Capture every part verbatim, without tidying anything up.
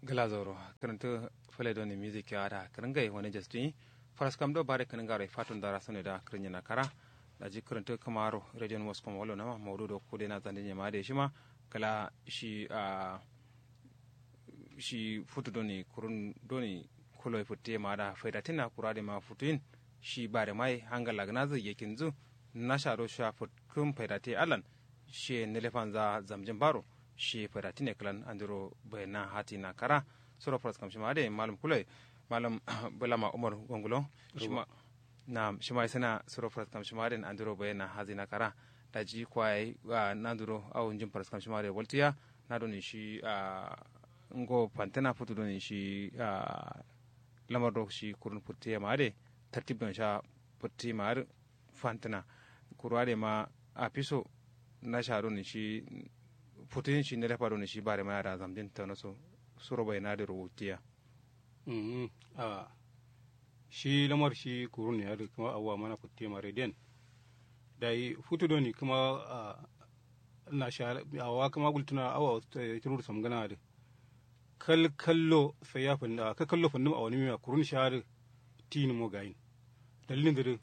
Gla zauro kǝrǝntǝ fǝle done music ya ada kǝrǝngai wane jastuyi. Faraskam do bare kǝrǝngaro ye fatun dara sone da kǝrǝnyena kara. Daji kǝrǝntǝ kǝmaro radio numoskoma wallo nama maudu do kude na zande nyema ade shima. Kǝla shi a shi futu done kurun done kulo ye futte ma ada faida tinna kura de ma futuyin. Shi bare mai hangalla gǝnazǝ yakinzǝ nasha do sha futkǝm faida te allan. Shiye nǝlefanza zamjin baro shiye faida tine kǝlan andiro baina hatina kara. Suro faraskam shima ade malum kulo ye malum bulama umar gongulo. Shima nam shima isana suro faraskam shima ade andiro baina hatina kara. Daji kwaye nandiro au njin faraskam shima ade waltiya. Na done shi a ngo fantena futu done shi a lamar do shi kurun futte ma ade tartib don sha futte ma ade fantǝna. Kuru ade ma afiso nasha done shi futuyin shi nalefa done shi bare ma ada zamjin tano so suro baina dero wutiya. Shi lamar shi kurun ya dǝ kǝma awwa mana futte ma rediyen. Dayi futu done kǝma nasha awa kǝma gultǝna awa turur samgǝna dǝ. Kal kallo sai ya fǝnni a kal kallo fǝnni ma awonǝmiya kurun sha dǝ. Tinǝmo gayin dalilin dǝ dǝ.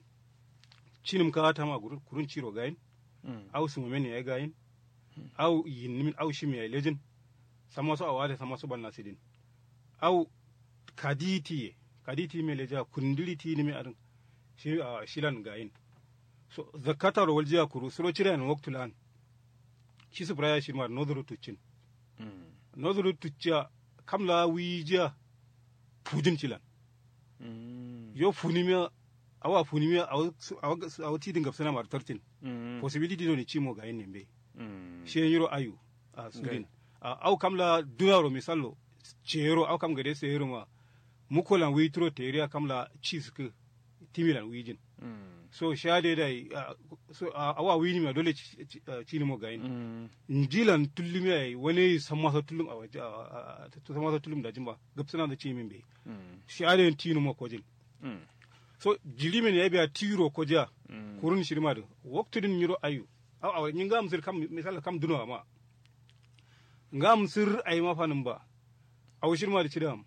Cinǝm ka atama kurun ciro gayin. Au sǝmomen yayi gayin. Au yinnǝmin au shim yayi lejin. Samma so awa dǝ samma so banna sidin. Au kadi tiye kadi tiyime leja kundǝri tinǝmi adǝn. Shi shilan gayin. So zakkataro waljiya kuru suro cidayen waktu lan. Shi sǝfǝraya shima dǝ nozuru tuccin. Nozuru tucciya kam la wiyijiya. Fujin cilan. Yo funimiya awa funimiya awo tidin gabsǝna ma dǝ tartin. Possibility done cimo gayin ne mbe. Shiye nyiro ayu. Sudin. Au kam la dunaro misallo ceyero au kam gade seyero ma. Mukolan wiyi turo teriya kam la ci sǝkkǝ. Timilan wuyijin. So sha dai dai. Awa wuyinimiya dole cinimo gayin. Njilan tullumiya yayi wane sammaso tullum awa sammaso tullum dajin ba gabsǝna nda ciyimin be. Sha dai tinimo kojin. So jirimin yayi biya tiro kojiya. Kurun shirima dǝ waktu dǝn nyiro ayu. Awa nyi ngam sǝr kam misal kam duno ama. Ngam sǝr ayi ma fanǝm ba. Awo shirma dǝ cidam.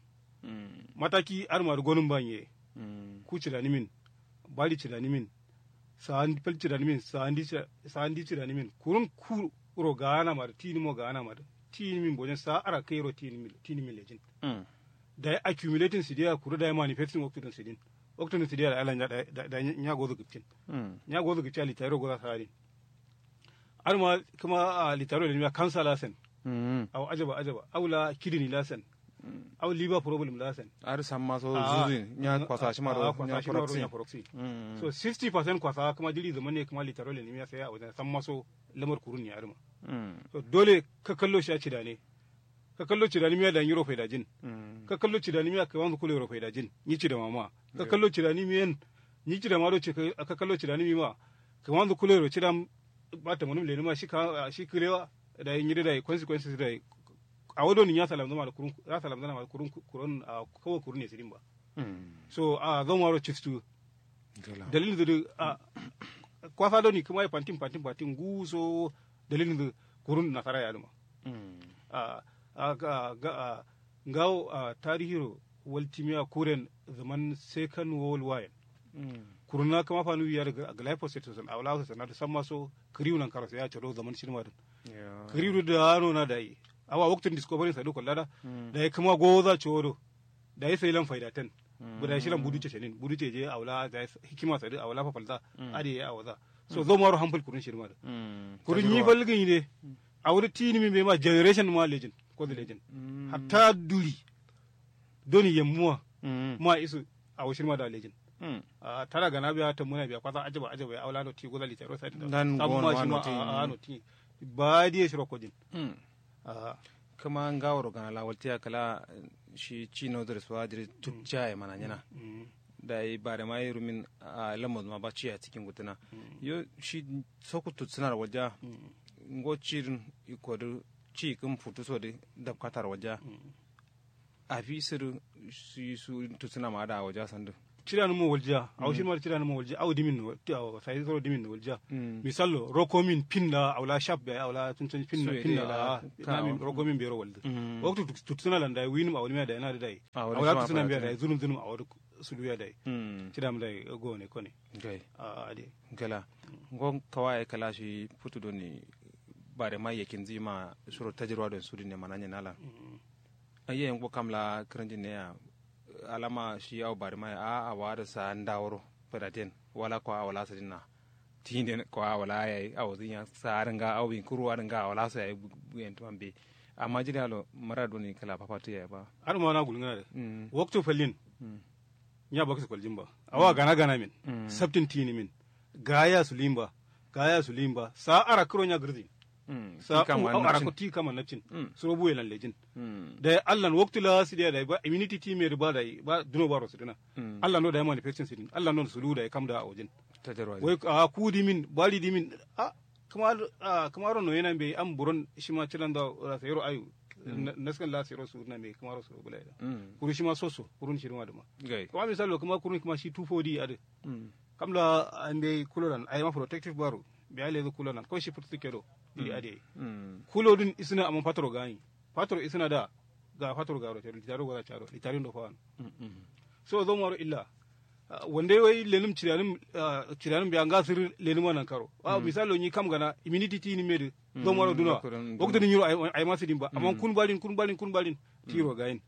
Mataki adǝ ma dǝ gonǝm ba nye. Ku cidanǝmin. Bari cidanǝmin. Sa'andi fal cidanǝmin sa'andi cidanimin kurun kuro ga'ana ma dǝ tinǝmo ga'ana ma dǝ. Tinǝmin bojen sa'a ara kairo tinǝmin lejin. Dayi accumulating sidiya kuru dayi manifesting waktudǝn sidin. Waktudǝn sidiya dayi ala nya gozu gǝpcin. Nya gozu gǝpcin a litayiro goza sa'adin. Adǝma kǝma litaro lenimiya kansa la sen. Awo ajaba ajaba awo la kidini la sen. Awo liver problem la sen. Adǝ samma so zuzu nya kwasa shima ro nya foroksi. So sixty percent kwasa kǝma jiri zaman ne kǝma litaro lenimiya sai awo samma so lamar kurun ne adǝma. So dole ka kallo shi a cidane. Ka kallo cidanimiya da nyiro faidajin. Ka kallo cidanimiya kǝmanzu kulo yero faidajin nyi cidamama. Ka kallo cidanimiyen nyi cidama do ka kallo cidanimima. Kǝmanzu kulo yero cidam. Ba tamanum lenima shi kǝlewa. Dayi nyi dǝ dayi consequences dayi. Awo doni nya salamzǝma dǝ kurun ra salamzǝna ma dǝ kurun kurun. Kawo kurun ne sǝdin ba. So a zomaro cistu. Dalil dǝ dǝ. Kwasa doni kǝma ye fantin fantin fantin nguso. Dalil dǝ kurun nasara ye adǝma. Ngawo tarihiro waltimiya kuren zaman second world war yen. Kurunna kǝma fanu yiyar glyphosate sosen awala sosen adǝ samma so kǝriwu nankaro sai ya cado zaman shirma dǝn. Kǝriwu dǝ dano na dayi. Awa waktun discovery sadu kollada. Dayi kǝma goza codo. Dayi sai lan faida ten. Buda shilan budu ce shenin budu ce je awala dayi hikima sadu awala fafalza. Ade ya awaza. So zomaro hampal kurun shirma dǝ. Kurun nyi fal gǝnyi de. Awo dǝ tinǝmi mbe ma generation ma lejin. Kozo lejin. Hatta duri. Doni yammuwa. Ma isu. Awo shirma da lejin. Tara gana biya tammuna biya kwasa ajaba ajaba ya awo la noti goza litaro sai da samma shima a noti. Ba diye shiro kojin. Kǝma ngaworo gana la waltiya kala. Shi ci nozǝ rǝ suwa dǝ rǝ tupciya ye mana nyina. Dayi bare ma ye rumin. Lamma zuma ba ciya cikin gutǝna. Yo shi soku tutsǝna rǝ walja. Ngo ci dǝn iko dǝ ci kǝm futu so dǝ. Dabkata rǝ walja. Afi sǝdǝ. Su tutsǝna ma ada awaja sandǝ. Cidanǝm mo waljiya awo shima dǝ cidanǝm mo waljiya awo dimin no waljiya. Misal lo rokomin fin la awo la shaf be awo la tunton fin la. Amin rokomin be ro waljiya. Waktu tuksuna lan dai winǝm awo nǝmiya dai na dǝ dai awo la tuksuna be dai zunum zunum awo dǝ suduya dai. Cidam dai gone kone. Gala ngo kawa ye kala shi futu doni. Bare ma yakin zima shiro tajirwa don sudin ne mananye nalan. Ayye ngo kam la kǝrǝnjin ne ya alama shi awo bare ma ya a awo adǝ sa ndaworo fadaten wala kwa awo la sadin na. Tinden kwa awo la yayi awo zin ya sa adǝ nga awo bin kuru adǝ nga awo la so yayi. Buyen tuman be amma jiri alo mara doni kala papatu yayi ba. Adǝ ma na gulngana dǝ waktu fallin. Nya baksu koljin ba awa gana gana min. Sabtin tini min gaya su limba gaya su limba sa ara kǝro nya gǝrzin. Sa ara ko ti kama napcin suro buwe lan lejin. Dai allan waktu la sidiya dai ba immunity team ye ba dai ba duno baro sidina. Allan no dai manufacturing sidin allan no sulu dai kam da awojin. Wai a ku dimin bari dimin a kǝma kǝma ro no yena mbeyi am buron shima cilando. Rasayero ayu naskan la sayero sudina mbeyi kǝma ro suro bula yeda. Kuru shima soso kurun shirma dǝma. Kǝma misalo kǝma kurun kǝma shi two four d adǝ kam la ambe kulolan ayima protective baro. Biya lezu kulolan ko shi furtu kedo. Dili ade kulo dun isna amma fatoro gani fatoro isna da ga fatoro garo caro litaro gora caro litarin do fawan. So zo maro illa wande wai lenum ciriyanum ciriyanum biya nga sir lenum anan karo. Misalo ni kam gana immunity ti ni medu zo maro duna. Waktu ni nyiro ayima sidin ba amma kun balin kun balin kun balin tiro gayin.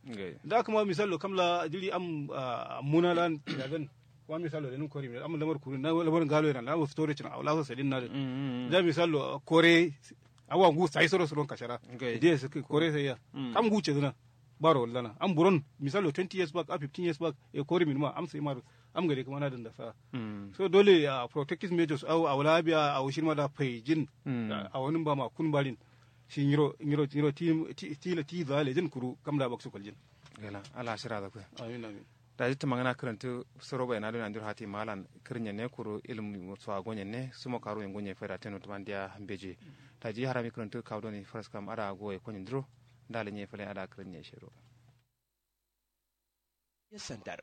Da kuma misalo kam la jiri am muna lan ciradan. Kuma misalo lenum kori mi am lamar kurun na lamar ngalo yana lamar storage na awla so sadin na. Da misalo kore awa ngu sai soro suron kashara. Diye su kore sai ya kam ngu ce zuna. Baro wallana am buron misalo twenty years back a fifteen years back e kori min ma am sai maro. Am gade kuma na danda sa so dole a protective measures au awla biya au shirma da faijin. A wani ba ma kun balin shi nyiro nyiro nyiro ti ti ti ti za lejin kuru kam da baksu koljin. Gala ala shira da ku. Amin amin. Daji tǝmangǝna kǝrǝntǝ soro baina done andiro hati malan kǝrǝnye ne kuru ilmu so agonye ne sumo karu ye ngonye faida teno tǝman diya mbeji. Daji harami kǝrǝntǝ kawu done faraskam ada goye konye ndiro. Ndale nye fale ada kǝrǝnye shero. Sandar.